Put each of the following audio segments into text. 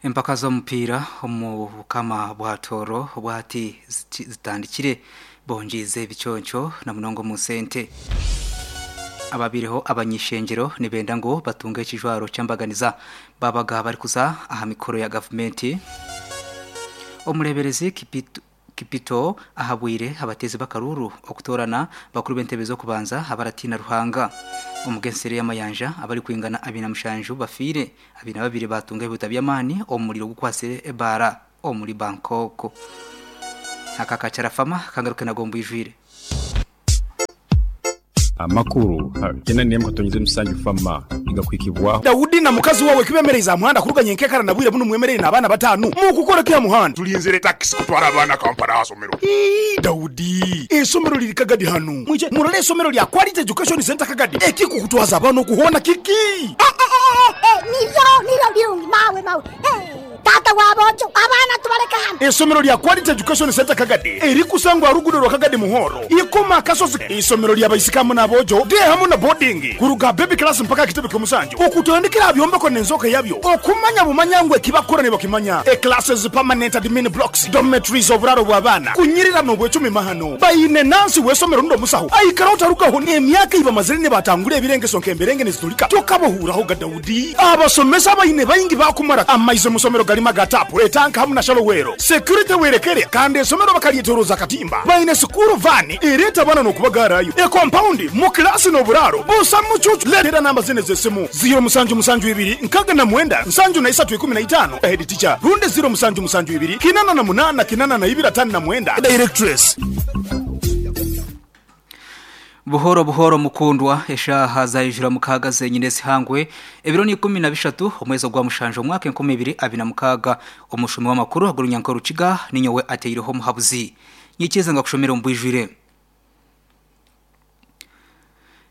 Empaka z'omupiira omu Bukama bwa Tooro obwahati zitandikire bongyize ebiconco na munonga omu sente. Ababaireho abany'ishengyero nibenda ngu batunge ekijwaro ky'embaganiza baabaga barikuza aha mikoro ya gavumenti. Omureeberezi Kipito ahabwire abateezi b'akaruuru okutoorana bakuru b'entebe z'okubanza abaratiina Ruhanga. Omu g'enseri y'amayanja abarikwingana 27 bafiire, 22 baatunga ebihuta by'amaani omu muriro ogukwatsire ebaara omuri Bangkok. Aka kakyarafama kangaruke nago mbwijwire. Amakuru gena nemu katonyeze musanju fama nigakuhikibwaho. Daudi na mukazi wawe kibemereize aha muhanda kuruga nyenkekara na bwire bunu mwemereire n'abaana batanu. Mukukora ki aha muhanda? Tulinzire takisi kutwara abaana Kampala aha somero. Ii, Daudi, eisomero liri Kagadi hanu. Mwije murole eisomero lya Quality Education Centre Kagadi. Ekikukutwaza abaana oku hoona kiki? Eh, nibyo, nibyo birungi mawe, mawe. Eh. Taata wa boojo, abaana tubaleke hanu. Eisomero lya Quality Education Centre Kagadi erikusangwa aha ruguudo rwa Kagadi Muhoro, Ikoma Akasozi. Eisomero lya baisiki hamu n'aboojo, day hamu na boarding, kuruga aha baby class mpaka aha kitebe ky'omusanju, okutandikira aha byombeko n'enzooka yabyo, okumanya bumanya ngu ekibakukora nibakimanya, e classes, permanent admin blocks, dormitories, oburaaro bw'abaana, kunyirira n'obwecumi mahano. Baine nansi w'eisomero rundi omusaho aikaraho tarugaho n'emyaka ei bamazire nibatangura ebirengeso nk'emberenge niziturika tokabahuuraho ga Daudi. Abasomesa abaine baingi baakumara amaizi omu somero garimu aga taapu, etanka hamu na shalowero. Security werekere kandi esomero bakaryetoroza akatimba. Baine sikuuru vaani ereeta abaana n'okubagaarayo. Ekompaundi mu kilaasi n'oburaaro busa mucuucu. Leetera namba zinu ez'esimu, ziiro musanju musanju ibiri nkaga na mwenda nsanju na isatu ikumi na itaano, Head teacher, rundi ziiro musanju musanju ibiri kinana na munaana kinana na ibiri atano na mwenda, Directress. Buhoro buhoro mukundwa, eshaaha zaijura mukaaga zenyine ezihangwe, ebiro ni 13 omwezi ogwa mushanju omwaka 2026. Omushomi w'amakuru ag'orunyanka orukiga ninyowe ateireho omuhabuzi. Nyikiriza ngakushomere omu bwijwire.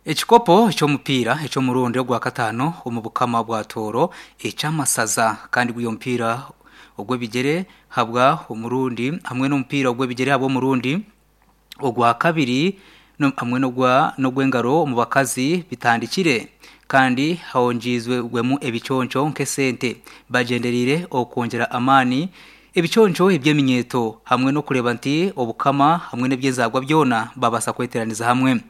Ekikopo eky'omupiira eky'omurundi ogwakataano omu bukama bwa Tooro eky'amasaza kandi guri omupiira ogw'ebigyere habwa omurundi hamwe n'omupiira ogw'ebigyere habw'omurundi ogwakabiri hamwe n'ogw'engaro omu bakazi bitandikire kandi hongyeirwemu ebiconco nk'esente bagyendereire okwongyera amaani ebiconco eby'eminyeeto hamwe n'okureeba nti obukama hamwe n'eby'enzaarwa byona babaasa kweteeraniza hamwe.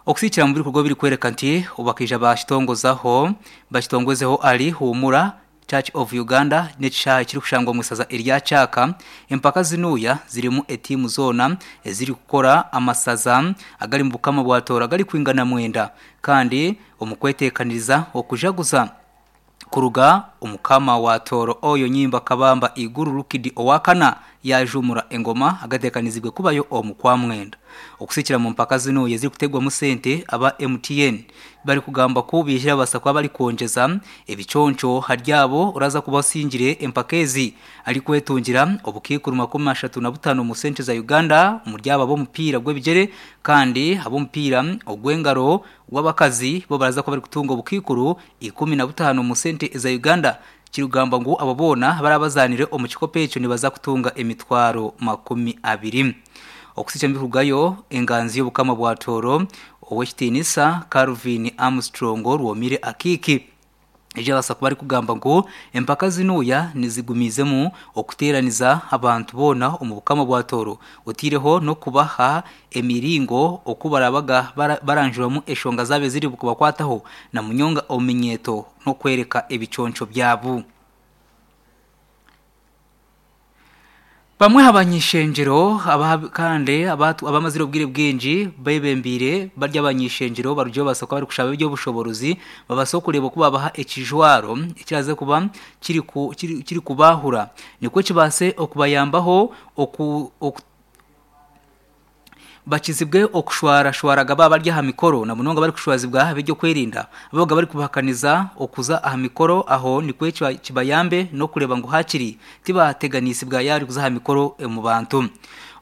Okusiikira omu bikorwa ebirikworeka nti bakaija bakitongozaho bakitongozeho ahari Huumura Church of Uganda n'ekishaayi ekirikushangwa omu isaza erya Kyaka. Empaka zinuuya zirimu etiimu zoona ezirikukora amasaza agari mu Bukama bwa Tooro agarikwingana mwenda kandi omu kweteekaniriza okujaguza kuruga Omukama wa Tooro Oyo Nyimba Kabamba Iguru Rukidi Owakana yaajuumura engoma agateekaniziibwe kubayo omu Kwamwenda. Okusiikira mu mpaka zinuuya ezirikuteegwamu sente aba MTN barikugamba ku baija babaasa kuba barikwongyeza ebiconco ahari abo oraaza kuba osingire empaka ezi arikwetungira obukaikuru 35 omu sente za Uganda omuri abo ab'omupiira gw'ebigyere kandi ab'omupiira ogw'engaro gw'abakazi bo baraza kuba barikutunga obukaikuru 15 omu sente za Uganda kirikugambwa ngu abo boona abaraba bazaanire omu kikopo ekyo nibaza kutunga emitwaro 20. Okusiikya omu enganzi y'Obukama bwa Tooro, Ow'ekitiinisa Calvin Armstrong Rwomire Akiiki, ejo yabaasa kuba arikugamba ngu empaka zinuuya nizigumiizemu okuteeraniza abantu boona omu Bukama bwa Tooro oteireho n'okubaha emiringo oku barabaga baranjuramu eshonga zaabo eziri kubakwataho na munyonga omu minyeeto n'okworeka ebiconco byabo. Bamwe aha bany'ishengyero kandi abamazire obwire bwingi bebembeire bari abany'ishengyero barugire babaasa kuba barikushaba eby'obushoboorozi babaase okureeba oku baabaha ekijwaro ekiraaze kuba kirikubaahura nikwo kibaase okubayambaho oku Bakizibwe okushwarashwaraga baaba bari aha mikoro na munonga barikushwazibwa ab'eby'okwerinda ababaga barikubahakaniza okuza aha mikoro aho nikwo kibayambe n'okureeba ngu haakiri tibateganisibwa yaaba arikuza aha mikoro omu bantu.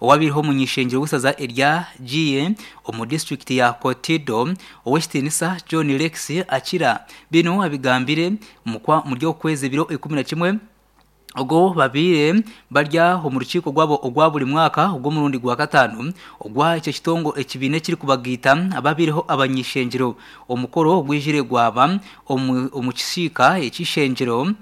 Owabaireho omuny'ishengyero w'eisaza erya Giye omu disiturikiti ya Kotido, Ow'ekitiinisa John Rex Akira binu abigambire omuri oku kwezi ebiro 11, Ogwo babaire bari omu rukiiko rwabo ogwa buri mwaka ogw'omurundi gwa kataano ogwa ekyo kitongo ekibiina ekirikubagaita ababaireho abany'ishengyero. Omukoro ogwijire gwaba omu kisiika eky'eishengyero.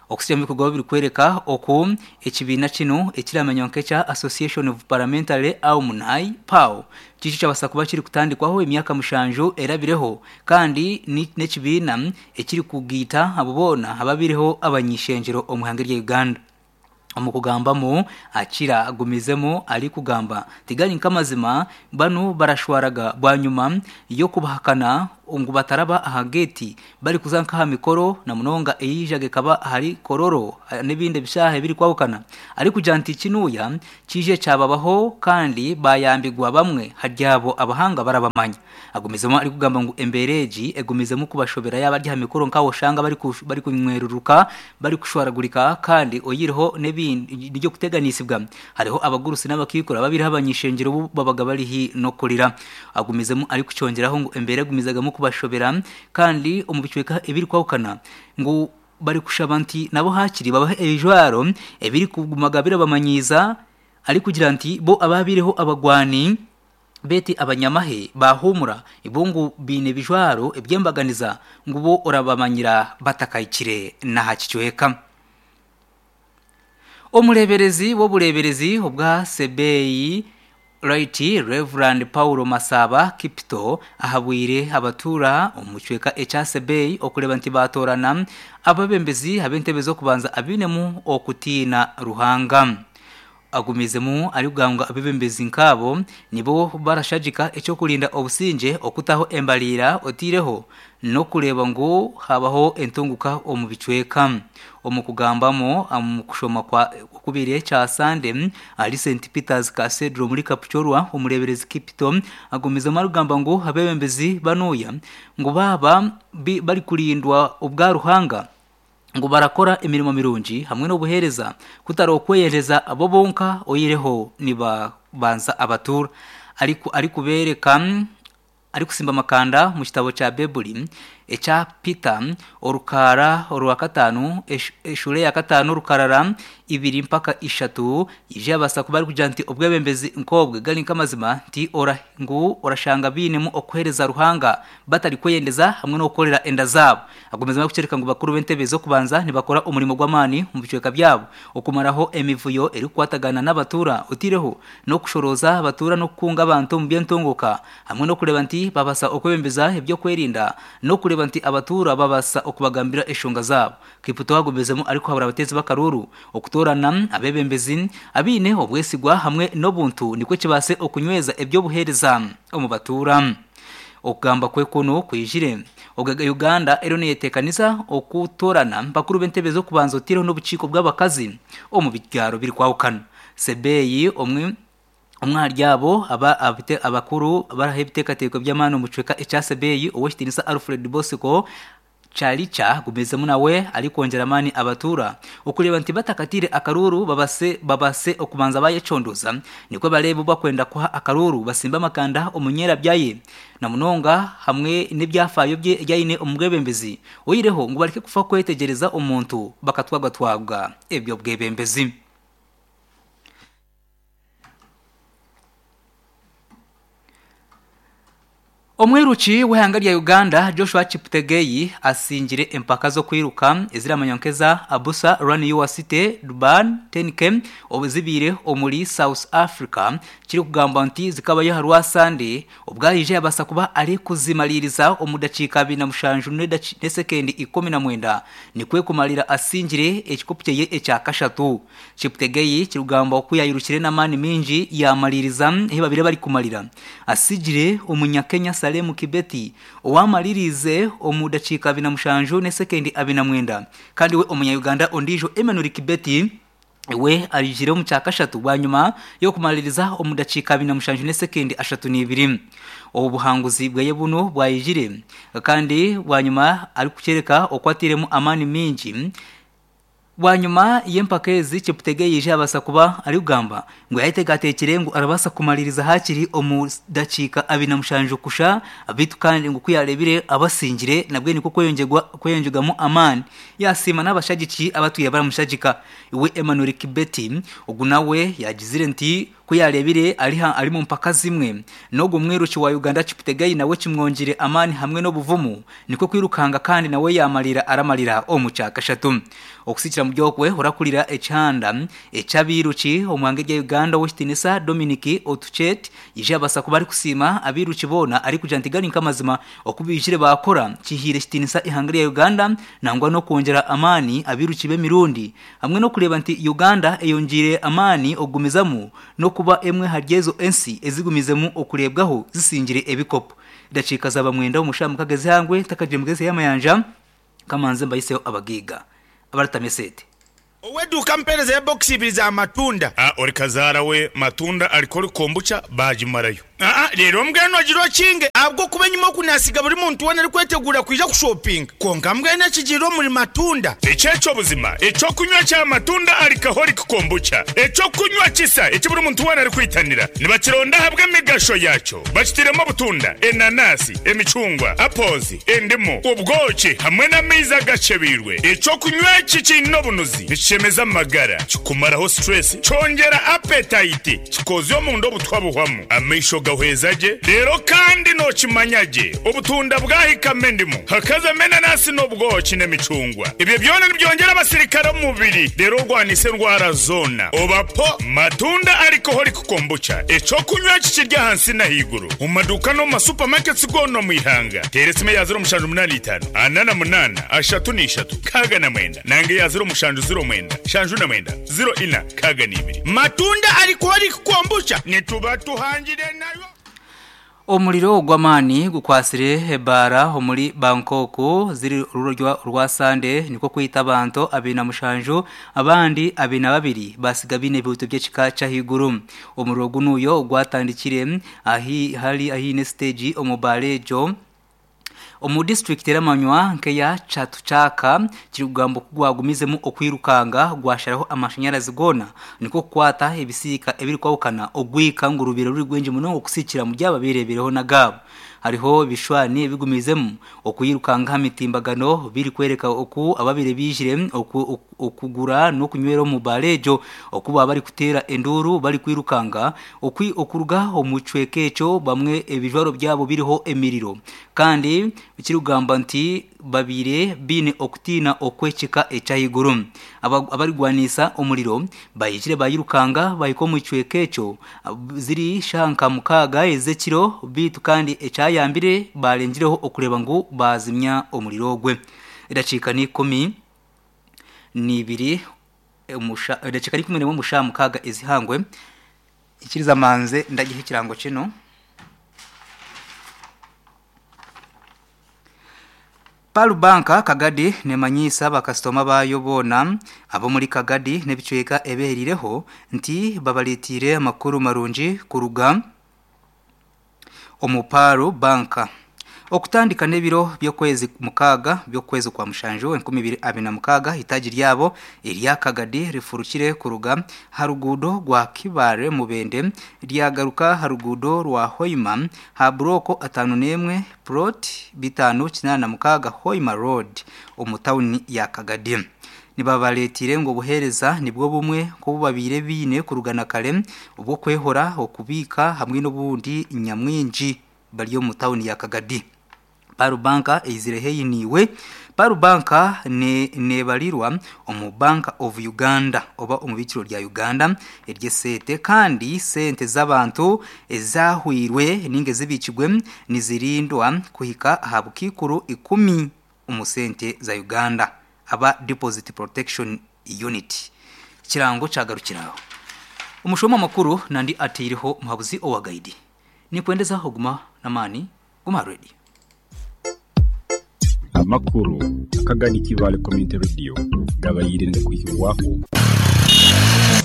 Okusiga omu bikorwa birikworeka oku ekibiina kinu ekiramanywa nk'ekya Association of Parliamentary Alumni, PAU, kikyo kyabaasa kuba kirikutandikwaho emyaka mushanju erabireho kandi n'ekibiina ekirikugaita abo boona ababaireho abany'ishengyero omu ihanga erya Uganda. Omu kugambamu, Akira agumizemu arikugamba, Tigari nk'amazima, banu barashwaraga bwanyima y'okubahakana ngu bataraba aha geeti barikuza nk'aha mikoro na munonga eyeijaga ekaba ahari Kololo n'ebindi ebishaaha ebirikwahukana. Arikugira nti kinuuya kiije kyababaho kandi bayambigwa bamwe haryabo abahanga barabamanya. Agumizemu arikugamba ngu embeera egi egumizemu kubashobera yaaba ari aha mikoro nk'ahu oshanga barikunyweruruka, barikushwaragurika kandi oyihireho n'ebindi by'okuteganisibwa hariho abagurusi n'abakaikuru ababaireho abany'ishengyero obu babaga bari haihi n'okurira. Agumizemu arikukyongyeraho ngu embeera egumizagamu kubashobera kandi omu bicweka ebirikwahukana ngu barikushaba nti nabo haakiri babahe ebijwaro ebirikugumaga birabamanyiiza arikugira nti bo ababaireho abagwani Beitu abanyamahe baahuumura, bo ngu baine ebijwaro eby'embaganiza ngu bo orabamanyira batakahikire n'aha kicweka. Omureeberezi w'obureeberezi obwa Sebei Right Rev. Paulo Masaaba Kipito ahabwire abatuura omu kicweka ekya Sebei okureeba nti baatoorana abeebembezi ab'entebe z'okubanza abainemu okutiina Ruhanga. Agumizemu arikugamba ngu abeebembezi nk'abo nibo barashagika eky'okurinda obusingye, okutaho embariira oteireho n'okureeba ngu habaho entunguka omu bicweka. Omu kugambamu omu kushoma kwa okubaire kya Sande ahari St Peters Cathedral omuri Kapchorwa, omureeberezi Kipito agumizemu arikugamba ngu abeebembezi banuuya ngu baaba barikurindwa obwa Ruhanga, ngu barakora emirimo mirungi hamwe n'obuheereza kutari okweyereza bo bonka oihireho nibabanza abatuura. Arikubeereka arikusimba amakanda omu kitabo kya Baibuli ekya Peter orukaara orwa kataano eshuura eya kataano orukarara ibiri mpaka ishatu yaija yabaasa kuba arikugira nti obwebembezi nk'obwe gari nk'amazima nti ngu orashanga bainemu okuheereza Ruhanga batarikweyendeza hamwe n'okukorera enda zaabo. Agumizemu arikukyoreka ngu bakuru b'entebe z'okubanza nibakora omurimo gw'amaani omu bicweka byabo okumaraho emivuyo erikukwatagana n'abatuura oteireho n'okushorooza abatuura n'okukunga abantu omu by'entunguuka hamwe n'okureeba nti babaasa okwebembeza eby'okwerinda n'okureeba nti abatuura babaasa okubagambira eshonga zaabo. Kipto agumizemu arikuhabura abateezi b'akaruuru okutoorana abeebembezi abaine obwesigwa hamwe n'obuntu nikwo kibaase okunyweza eby'obuheereza omu batuura. Okugamba kwe kunu kwijire obwe Uganda eriyo neyetekanisa okutorana bakuru b'entebe z'okubanza oteireho n'obukiiko bw'abakazi omu byaro birikwahukana. Sebeyi omwe omwe ahari abo aba abakuru baraha ebiteekateeko by'amaani omu kicweka ekya Sebeyi Ow'ekitinisa Alfred Bosiko Chalicha agumizemu nawe arikwongyera amaani abatuura okureeba nti batakatiire akaruuru babase babase okubanza bayecondooza nikwo bareebe obu bakwenda kuha akaruuru basimbe amakanda omu nyerabya ye na munonga hamwe n'ebyafaayo bye ebi aine omu bwebembezi oihireho ngu bareke kufa kwetegyereza omuntu bakatwagatwaga eby'obwebembezi. Omwiruki w'eihanga rya Uganda, Joshua Cheptegei asingire empaka z'okwiruka eziramanywa nk'eza Abusa Run Your City Durban 10K obu zibaire omuri South Africa kirikugambwa nti zikabayo aha Rwasande obu aija yabaasa kuba arikuzimariiriza omu dakiika 27 n'esekendi 19 nikwo kumarira asingire ekikopo kyeye ekya kashatu. Cheptegei kirikugambwa ku yaayirukire n'amaani maingi yaamariiriza ahi babaire barikumarira. Atsigire Omunyakenya Salem Kibeti owaamaririize omu dakiika 47 n'esekendi 49 kandi we Omunya-Uganda ondiijo Emmanuel Kibeti we aijire omu kyakashatu bwanyima y'okumaririza omu dakiika 47 n'esekendi 32. Obu buhanguzi bweye bunu bwaijire kandi bwanyima arikukyoreka oku atairemu amaani maingi. Bwanyima y'empaka ezi, Cheptegei yaija yabaasa kuba arikugamba ngu yayeteekateekire ngu arabaasa kumariiriza haakiri omu dakiika 27 kusha beitu kandi ngu ku yaareebire abasingire nabwe nikwo kweyongyerwamu amaani yasiima n'abashagiki abatwire baramushagika. We Emmanuel Kibeti ogu nawe yaagizire nti. Ku yaareebire ari ari mu mpaka zimwe n'ogwo mwiruki wa Uganda Cheptegei nawe kimwongire amaani hamwe n'obuvumu nikwo kwirukanga kandi nawe yaamarira aramarira omu kyakashatu. Okusikira mu by'okwe orakurira ekihanda eky'abairuki omu ihanga erya Uganda Ow'ekitiinisa Dominic Otuchet yaija yabaasa kuba arikusiima abairuki boona arikugira nti gari nk'amazima oku baijire baakora kihaire ekitiinisa eihanga erya Uganda nangwa n'okwongyera amaani abairuki b'emirundi hamwe n'okureeba nti Uganda eyongyeire amaani okugumizamu n'okuba emwe ahari ezo ensi ezigumizemu okureebwaho zisingire ebikopo. Edakiika zaaba mwenda omu shaaha mukaga ez'eihangwe ntakagire mugezi ey'amayanja kamanze mbahiseho abagaiga abaratama esente. Ow'eduuka ampeereza ya bokisi ibiri za matunda. A Ori kazaara we matunda ariko ori kombucha baagimarayo. Aa Reero mbwenu ogire okinge ahabw'okuba enyima oku naasiga buri muntu weena arikweteguura kwija kushopinga. Kwonka mbwenu ekigiire omuri matunda. Eki eky'obuzima, eky'okunywa kya matunda alcoholic kombucha, eky'okunywa kisa eki buri muntu weena arikwitanira. Nibakironda ahabw'emigasho yaakyo. Bakitairemu obutunda, enanasi, emicungwa, apples, endimu, obwoki hamwe n'amaizi agakyebeirwe. Eky'okunywa eki kiine obunuzi, nikishemeza amagara, kikumaraho stress, kyongyera appetite, kikozya omunda obutwa buhwamu, amaisho gahweza gye, reero kandi nookimanya gye obutunda bwahikamu endimu, hakazamu enanasi n'obwoki n'emicungwa. Ebyo byona nibyongyera abasirikare omu mubiri reero orwanise endwara zoona. Oba po matunda alcoholic kombucha, eky'okunywa eki kiri ahansi n'ahaiguru omu maduuka n'omu ma supermarkets goona omu ihanga. Teera esimu eya 0785 48 33 69 nanga eya 0709 79 04 62. Matunda alcoholic kombucha nituba tuhangire nayo. Omuriro gw'amaani gukwatsire ebaara omuri Bangkok ziri orurorya orwa Sande nikwo kwita abantu 27 abandi 22 basiga baine ebihuto by'ekika ky'ahaiguru. Omuriro gunuyo gwatandikire ahi hari ahaine siteegi omu baara egyo. Omu disiturikiti eramanywa nk'eya Chatuchak kirikugambwa ku gwagumizemu okwirukanga gwasharaho amashanyarazi goona nikwo kukwata ebisiika ebirikwahukana ogwika ngu rubaire ruri rwingi munonga okusikira omuri abo abeereebireho n'agaabo. Hariho ebishushani ebigumiizemu okwirukanga aha mitimbagano birikworeka oku ababaire baijire okugura n'okunywera omu baara egyo oku baaba barikuteera enduuru barikwirukanga okuruga omu kicweka ekyo bamwe ebijwaro byabo biriho emiriro kandi ekirikugamba nti babaire baine okutiina okw'ekika eky'ahaiguru. Abarikugwanisa omuriro bahikire bayirukanga bahika omu kicweka ekyo ziri shaaha nka mukaaga ez'ekiro beitu kandi ekyayambire barengireho okureeba ngu baazimya omuriro ogwe. Edakiika n'ikumi n'ibiri edakiika n'ikumi n'emwe omu shaaha mukaaga ez'eihangwe. Ikiriza manze ndagiha ekirango kinu. Pearl Bank Kagadi nemanyiisa bakasitoma baayo boona ab'omuri Kagadi n'ebicweka ebeheriireho nti babareeteire amakuru marungi kuruga omu Pearl Bank. Okutandika n'ebiro by'okwezi mukaaga by'okwezi kwa mushanju 2026, eitaagi ryabo erya Kagadi rifurukire kuruga aha ruguudo rwa Kibaare Mubende ryagaruka aha ruguudo rwa Hoima aha burooko 51 plot 586 Hoima Road omu tauni ya Kagadi. Nibabareeteire ngu obuheereza nibwo bumwe nk'obu babaire baine kuruga na kare obw'okwehora, okubiika hamwe n'obundi nyamwingi bari omu tauni ya Kagadi. Pearl Bank eizire haihi naiwe. Pearl Bank neebarirwa omu Bank of Uganda oba omu biikiro rya Uganda ery'eseete kandi sente z'abantu ezahwirwe ninga ezibiikirwe nizirindwa kuhika aha bukaikuru ikumi omu sente za Uganda aba Deposit Protection Unit. Ekirango kyagarukira aho. Omushoma amakuru nandi ateireho muhabuzi owa gaidi. Ninkwendeza oguma n'amaani, guma aha radio. Amakuru akagani Kibaale Community Radio gabaire nigakwihibwaho.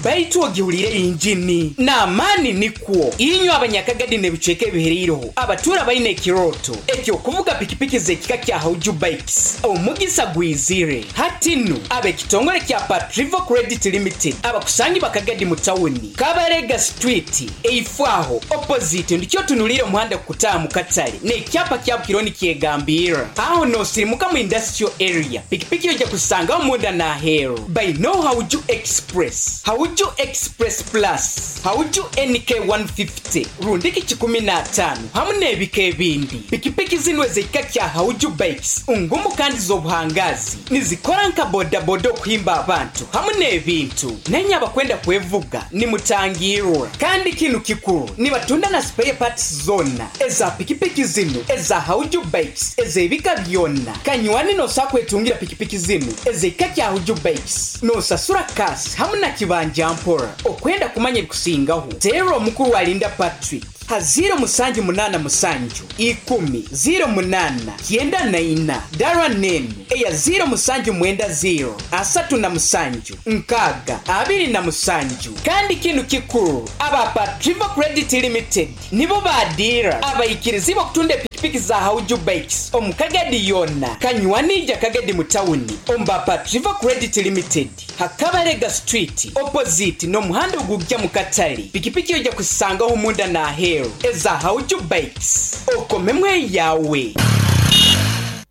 Baitu ogihuriire yingini n'amaani nikwo. Inywe Abanyakagadi n'ebicweka ebihereireho abatuura baine ekirooto eky'okuvuga pikipiki z'ekika kya Hauju Bikes, omugisa gwizire. Hati nu, ab'ekitongore kya Patrivo Credit Limited abakusangibwa Kagadi mu tawuni, Kabarega Street, Eifo aho, opposite, ndikyo otunuliire omuhanda gukutaaha mu katale n'ekyapa kya Bukironi kyegambirra. Aho n'osirimuka mu industrial area, pikipiki oija kuzisangaho munda n'aheeru. By Know Hauju Express. Bikes, Hauju Express Plus, Hauju NK 150, Rundiki 150 hamu n'ebika ebindi. Pikipiki zinu ez'ekika kya Hauju Bikes ngumu kandi z'obuhangaazi. Nizikora nka bodaboda okuhimba abantu hamu n'ebintu. Nainye abakwenda kwevuga nimutangiirwa. Kandi kinu kikuru, nibatunda na spare parts zoona eza pikipiki zinu eza Hauju Bikes ez'ebika byona. Kanywani nosobola kwetungira pikipiki zinu ez'ekika kya Hauju Bikes nosasura cash hamu na kibanja mpora. Okwenda kumanya ebikusingaho, teera omukuru Alinda Patrick ha ziiro musanju munaana musanju, ikumi, ziiro munaana, kyenda na ina. Dara n'enu eya ziiro musanju mwenda ziiro, 37, 60, 27. Kandi kinu kikuru, aba Patrivo Credit Limited nibo ba diira abaikirizibwa okutunda epikipiki za Hauju Bikes omu Kagadi yoona. Kanywani ija Kagadi mu tawuni omu ba Patrivo Credit Limited ha Kabalega Street opposite n'omuhanda ogugya mu katale. Pikipiki oija kuzisangaho munda n'aheeru eza Hauju Bikes. Okomemu eyawe.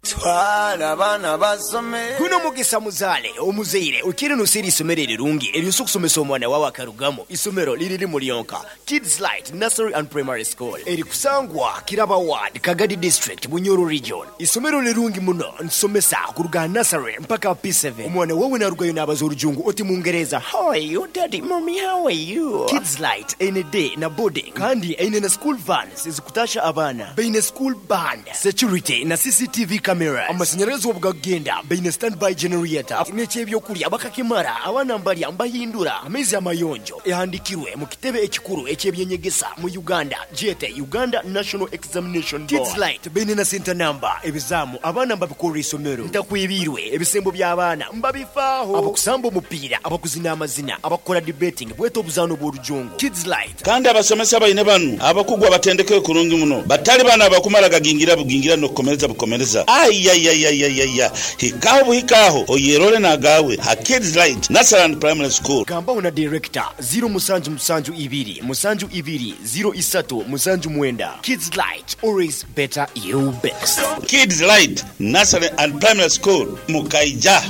Twala abaana basome. Guno mugisa muzaale omuzaire oikire noseera isomero erirungi eryosobola okusomesa omwana wawe akarugamu. Isomero liri limu lyonka, Kids Light Nursery and Primary School erikusangwa Kiraba Ward, Kagadi District, Bunyoro Region. Isomero lirungi muno nitusomesa kuruga aha nursery mpaka aha P7. Omwana wawe narugayo nabaza orujungu oti mungereza How are you daddy, mummy how are you? Kids Light eine day na boarding kandi eine na school vans ezikutasha abaana. Baine school band, security na CCTV cameras. Amasanyarazi obu gakugenda baine standby generator n'eky'ebyokurya bakakimara abaana mbarya mbahindura amaizi amayonjo. Ehandikirwe mu kitebe ekikuru eky'ebyenyegesa mu Uganda gyete Uganda National Examination Board. Kids Light baine na center number, ebizaamu abaana mbabikorera isomero. Ntakwebiirwe ebisembo by'abaana mbabifaaho. Abakusamba omupiira, abakuzina amazina, abakukora debating bwete obuzaano bw'orujungu. Kids Light. Kandi abasomesa baine banu abakugu abatendekeirwe kurungi muno, batali bano abakumala gagingira bugingira n'okukomereza bukomereza. Aiaiaiaiaia! Hikaagho buhikaagho oyerole n'agaawe ha Kids Light Nursery and Primary School. Gambaho na Director, ziiro musanju musanju ibiri musanju ibiri ziiro isatu musanju mwenda. Kids Light, always better you best. Kids Light Nursery and Primary School, Mukaija.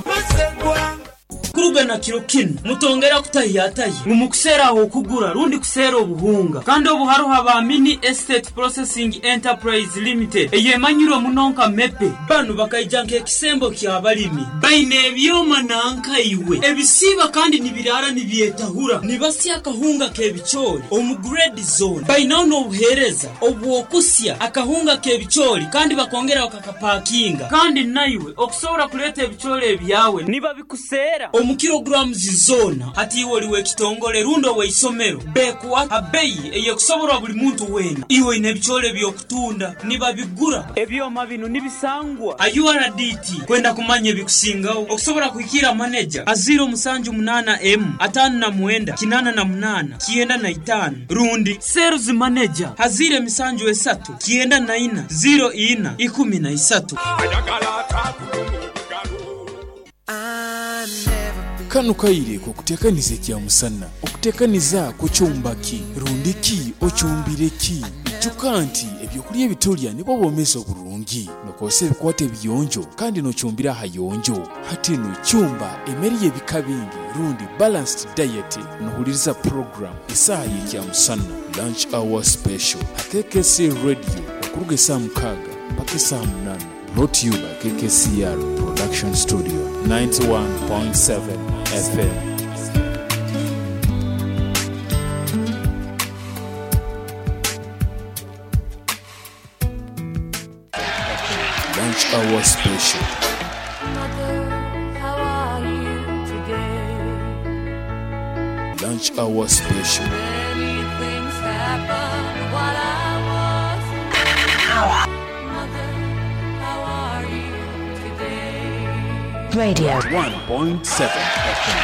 Kuruga na kiro kinu, mutongera kutahiyatahya ngu mukuseera ah'okugura rundi kuseera obuhunga. Kandi obu haroho aba Mini Estate Processing Enterprise Limited eyemanyirwe muno nka MEPE. Banu bakaija nk'ekisembo ky'abalimi. Baine ebyoma nanka iwe ebisiiba kandi nibiraara nibyetahura. Nibasya akahunga k'ebicoori omu grade zoona. Bainaho n'obuheereza obw'okusya akahunga k'ebicoori kandi bakongera bakakapakinga. Kandi naiwe okusobora kuleeta ebicoori ebyawe nibabikuseera omu kilograms zoona. Hati iwe oli w'ekitongole rundi ow'eisomero, beekuha ha beyi ey'ekusoborwa buli muntu weena. Iwe oine ebicoori eby'okutunda, nibabigura. Ebyoma binu nibisangwa ha URDT. Kwenda kumanya ebikusingaho, okusobora kuhikiira maneja ha 078 emu 59 88 95 rundi Sales Manager ha 073 94 04 13. Kanu kaire k'okuteekaniza ekyamusana. Okuteekaniza kucumba ki? Rundi ki ocumbire ki? Ijuka nti ebyokulya ebitulya nibwo bwomeezi oburungi. Nokozesa ebikwato ebiyonjo kandi nocumbira ahayonjo. Hati nu cumba emere y'ebika bingi rundi balanced diet nohuliriza program Esaaha y'Ekyamusana, Lunch Hour Special, ha KKC Radio okuruga esaaha mukaaga mpaka esaaha munaana. Brought to you by KKCR Production Studio, 91.7 FM. Lunch Hour Special. Lunch Hour Special. Radio. 1.7 FM.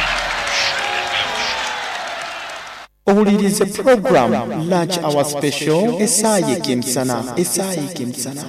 Owuliriize pulogulaamu Lunch Hour Special esaaha y'ekemisana, esaaha y'ekemisana.